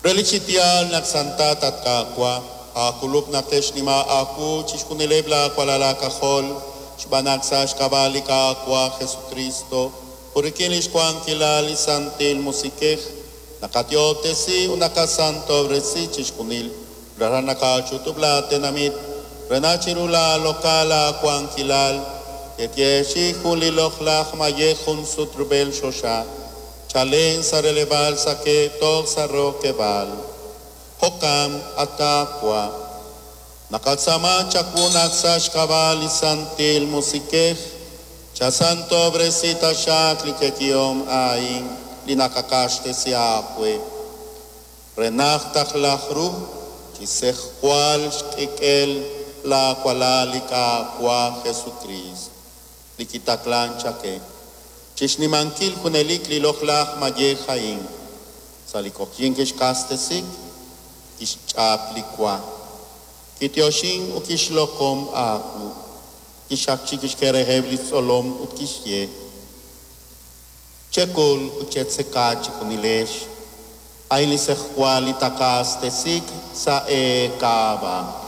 Relik chi yaal naq santat, at Qaawa', aakulub' naq te'xnima aawu chixjunileb' laawalal aak'ajol, xb'aan naq sa' xk'ab'a' li Qaawa' Jesukristo ut rik'in li xwankilal li Santil Musiq'ej naqayoob'tesi ut naqasantob'resi chixjunil. Rara nakach'utub' laatenamit re naq chiru laaloq'al aawankilal te'yeechi'i jun li loq'laj mayej jun sut rub'el choxa, chalen sa' releb'aal saq'e toj sa' rokeb'aal. Jo'kan, at Qaawa', naqatz'aama chawu naq sa' xk'ab'a' li Santil Musiq'ej chasantob'resi taxaq li yeechi'om a'in li naqaq'axtesi aawe, re naq taqlaj ru chi sejwal xk'ik'el laawalal li Qaawa' Jesukriist li kitaqlank chaqe chixnimankil junelik li loq'laj mayej a'in. Sa' li q'oqyink kixq'axtesi, kixch'ap li wa, kityoxin ut kixloq'om aawu, kixaqchi kixk'e reheb' li xtzolom ut kixye: Chek'ul ut chetzeka chejunilex, a'in li sejwal li taq'axtesiik sa' eek'ab'a'.